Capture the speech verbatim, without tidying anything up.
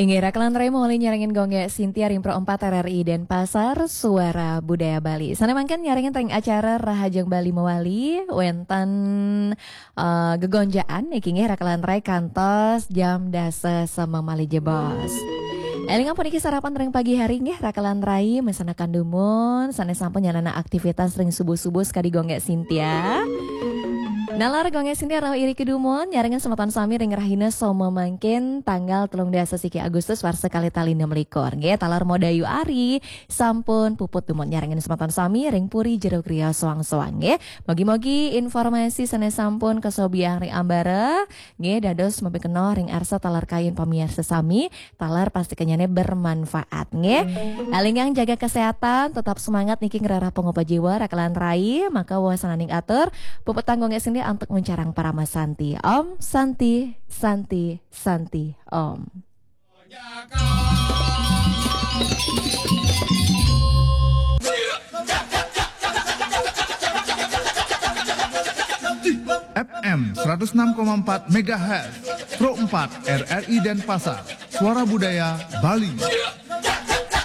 Inggih, rakelan rai mawali nyarengin Gung Gé Sintia ring Pro empat R R I Denpasar, Suara Budaya Bali. Sané mangkin nyarengin ring acara Rahajeng Bali Mawali, wénten eh, gegonjaan niki nggih rakelan rai kantos jam dasa semeng malih jebos. Élingang puniki sarapan ring pagi hari nggih rakelan rai, mangsanakaning dumun sané sampun nyanana aktivitas ring subuh-subuh sakadi Gung Gé Sintia. Nalar Gung Gé Sintia rauh iriki dumun nyarengin semeton sami ring rahina Soma mangkin tanggal telung dasa siki Agustus warsa kalih tali enam likur. Nggih, taler Modayu Ari sampun puput dumun nyarengin semeton sami ring puri jero griya soang-soang nggih. Mugi-mugi informasi sané sampun kasobiahang ring ambara nggih dados mapikenoh ring arsa taler kayun pamiarsa sami, taler pasti kenyané bermanfaat nggih. Élingang jaga kesehatan, tetap semangat niki ngrereh pangupa jiwa rakelan rai, maka wasananing atur puputang Gung Gé Sintia antuk nguncarang parama santi. Om Santi, Santi, Santi, Om. F M seratus enam koma empat megahertz, Pro empat R R I Denpasar, Suara Budaya Bali.